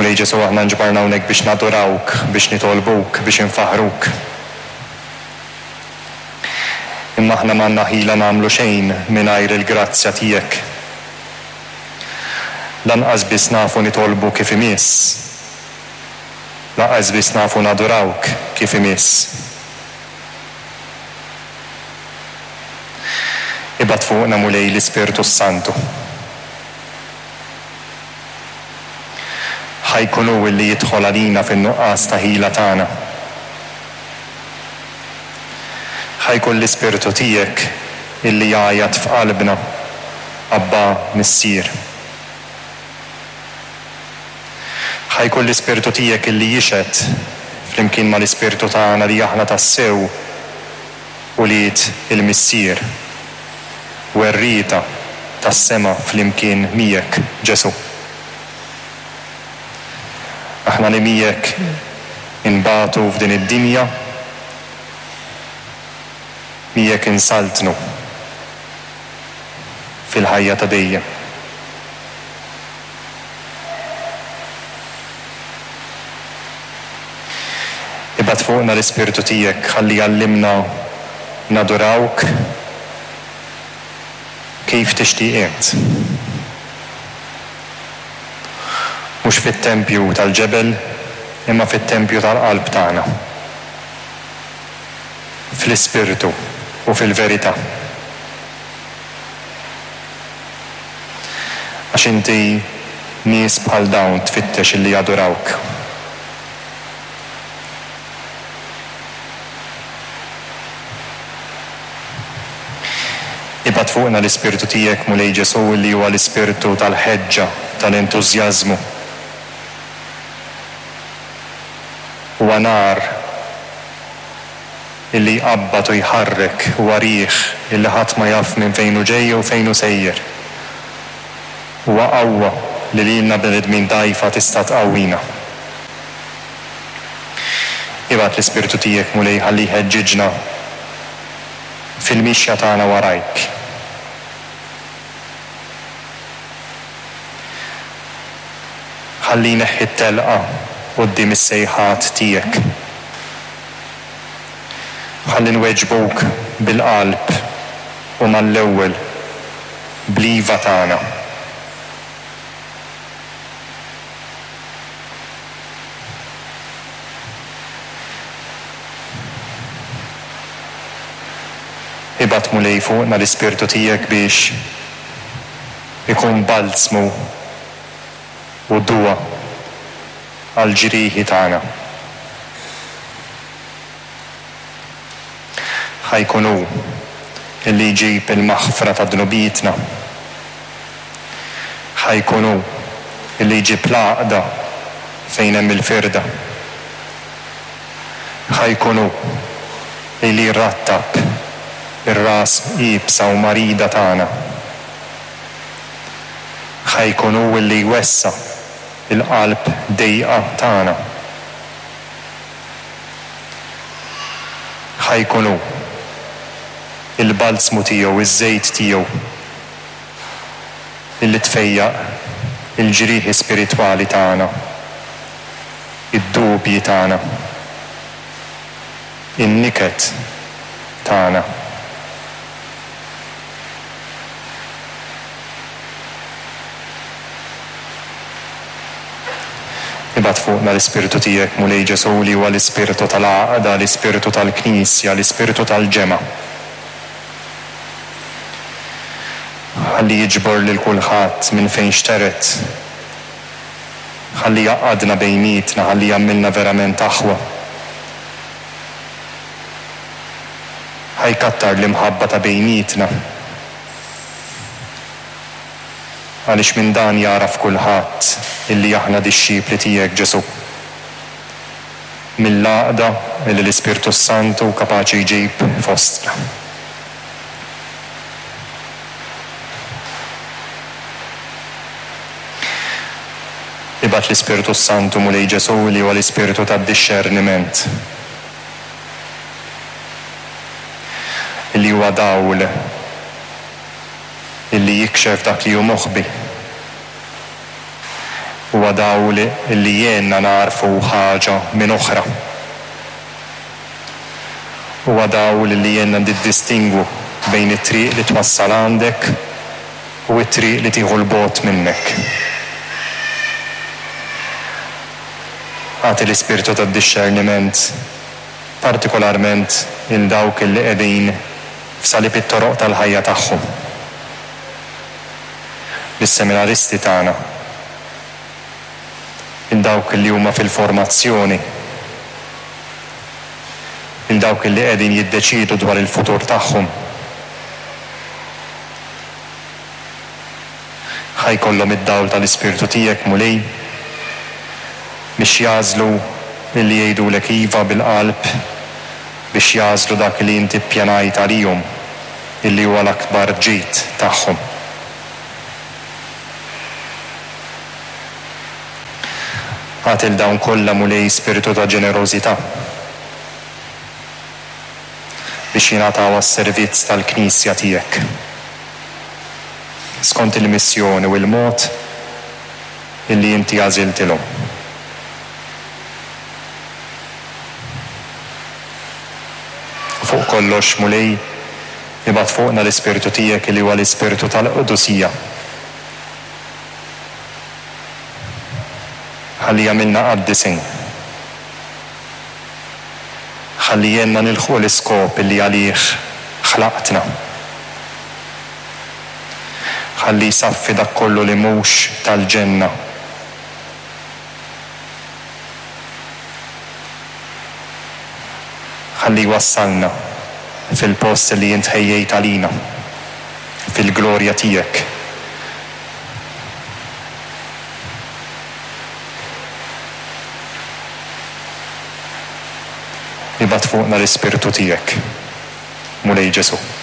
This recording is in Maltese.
Mulej Ġesù aħna nġbarna hawnhekk biex nadurawk, biex nitolbuk, biex infaħħruk. Imma aħna m'għandna ħila nagħmlu xejn mingħajr il-grazzja tiegħek. Lanqas biss nafu nitolbu kif imiss. Lanqas biss nafu nadurawk kif imiss. Ibgħat fuqna Mulej l-Ispirtu s-Santu. Ħa jkun hu illi jidħol għalina fin-nuqqas ta' ħila tagħna. Ħa jkun l-Ispirtu tiegħek illi jgħajjat f'qalbna, Abbà, Missier. Ħa jkun l-Ispirtu tiegħek illi jixhed flimkien mal-ispirtu tagħna li aħna tassew ulied il-Missier, werrieta tas-sema flimkien miegħek, Ġesù. Aħna li miegħek inbatu f'din id-dinja, miegħek insaltnu fil-ħajja ta' dejjem. Ibgħat fuqna l-Ispirtu tiegħek ħalli jgħallimna nadurawk kif tixtieq int. Mhux fit-tempju tal-ġebel imma fit-tempju tal-qalb tagħna. Fl-ispirtu u fil-verità. Għax inti nies bħal dawn tfittex illi jadurawk. Ibgħat fuqna l-Ispirtu tiegħek, Mulej Ġesù, li huwa l-Ispirtu tal-ħeġġa, tal-entużjażmu. Huwa nar illi jqabbad u jħarrek, huwa riħ illi ħadd ma jaf minn fejn hu ġej jew fejn hu sejjer. Huwa qawwa li lilna bnedmin dgħajfa tista' tqawwina. Ibgħat l-Ispirtu tiegħek, Mulej, ħalli jħeġġiġna fil-mixja tagħna warajk. Ħalli jneħħi t-telqa quddiem is-sejħat tiegħek. Ħalli nweġbuk bil-qalb u mal-ewwel bl-iva tagħna. Ibgħat Mulej fuqna l-Ispirtu tiegħek biex ikun balzmu u duwa għall-ġrieħi tagħna. Ħa jkun hu li jġib il-maħfra ta' dnubietna. Ħa jkun hu li jġib l-għaqda fejn hemm il-firda. Ħa jkun hu li jrattab ir-ras iebsa u marida tagħna. Ħa jkun hu li jwessa' l-qalb dejqa tagħna. Ħa jkun hu. Il-balzmu tiegħu, iż-żejt tiegħu, illi tfejjaq il-ġrieħi spiritwali tagħna, id-dubji tagħna, in-niket tagħna. Ibgħat fuqna l-Ispirtu tiegħek, Mulej Ġesù, li huwa l-Ispirtu tal-għaqda, l-Ispirtu tal-Knisja, l-Ispirtu tal-ġemgħa. Ħalli jiġbor lil kulħadd minn fejn xtered. Ħalli jgħaqqadna bejnietna, ħalli jagħmilna verament aħwa. Ħa jkattar l-imħabba ta' bejnietna. Għaliex minn dan jagħraf kulħadd illi aħna dixxipli tiegħek, Ġesù. Mill-għaqda illi l-Ispirtu s-Santu kapaċi jġib fostna. Ibgħat l-Ispirtu s-Santu, Mulej Ġesù, li huwa l-Ispirtu tad-dixxerniment. Illi huwa dawl illi jikxef dak li hu moħbi. Huwa dawl li jgħinna nagħrfu ħaġa minn oħra. Huwa dawl li jgħinna niddistingwu bejn it-triq li twassal għandek u t-triq li tieħu 'l bogħod minnek. Agħti l-ispirtu tad-dixxerniment partikolarment lil dawk li qegħdin f'salib it-toroq tal-ħajja tagħhom. Lis-seminaristi tagħna, lil dawk li huma fil-formazzjoni, lil dawk li qegħdin jiddeċiedu dwar il-futur tagħhom. Ħa jkollhom id-dawl tal-Ispirtu tiegħek, Mulej, biex jagħżlu li jgħidulek iva bil-qalb, biex jagħżlu dak li inti ppjanajt għalihom, illi huwa l-akbar ġid tagħhom. Agħti 'l dawn kollha, Mulej, spirtu ta' ġenerożità, biex jingħataw għas-servizz tal-Knisja tiegħek, skont il-missjoni u l-mod illi inti għażiltilhom. U fuq kollox, Mulej, ibgħat fuqna l-Ispirtu tiegħek li huwa l-Ispirtu tal-qdusija. Ħalli jagħmilna qaddisin. Ħalli jgħinna nilħqu l-iskop li għalih ħlaqtna. Ħalli jsaffi dak kollu li mhux tal-ġenna. Ħalli jwassalna fil-post li int ħejjejt għalina, fil-glorja tiegħek. Ibgħat fuqna l-Ispirtu tiegħek, Mulej Ġesù.